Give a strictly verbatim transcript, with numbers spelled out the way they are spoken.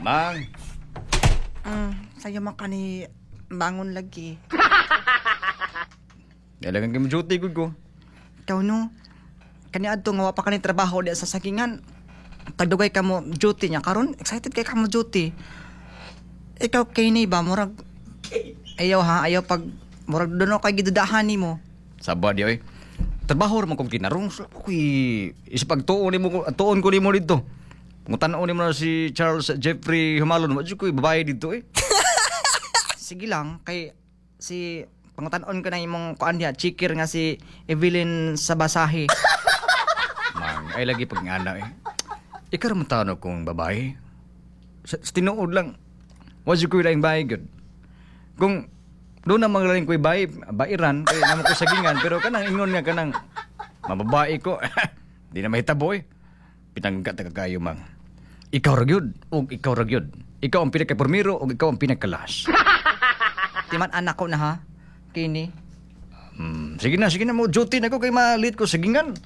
Mang, Mm, sayo man kani bangon lagi. Dalagang kay mo duty gud ko. Ikaw no. Kani adto nga wa pa kani trabaho diya sa sagingan. Tagdugay ka mo duty niya karon excited kay ka mo duty. Ikaw kini ba murag ayaw ha ayaw pag murag doon kay gidudahan nimo. Saba di oy. Trabaho ra man kong kinarong. Kuy isipag tuon nimo tuon ko nimo didto. Pangutan-on nimo na si Charles Jeffrey Humalon, wa jud ko'y babae didto eh. Sige lang kay si pangutan-on ko na imong kuan diha chiker nga si Evelyn Sabasahi. Mang, ay lagi pag ngana eh. Ikaw ra man taon kong babae. Sa, sa tinuod lang, wa jud ko'y laing bae gyud. Kung doon na mga laing ko'y bae, bairan, kay namo ko sagingan, pero kanang ingon nga kanang mababae ko, di na mahitabo eh. Pinangga ta kayo mang. Ikaw ra gyud ug ikaw ra gyud. Ikaw ang pinaka-primero ug ikaw ang pinaka-last. Timan anak ko na ha. Kini. Hmm, sige na, sige na mo duty na ko kay ma-late ko sagingan.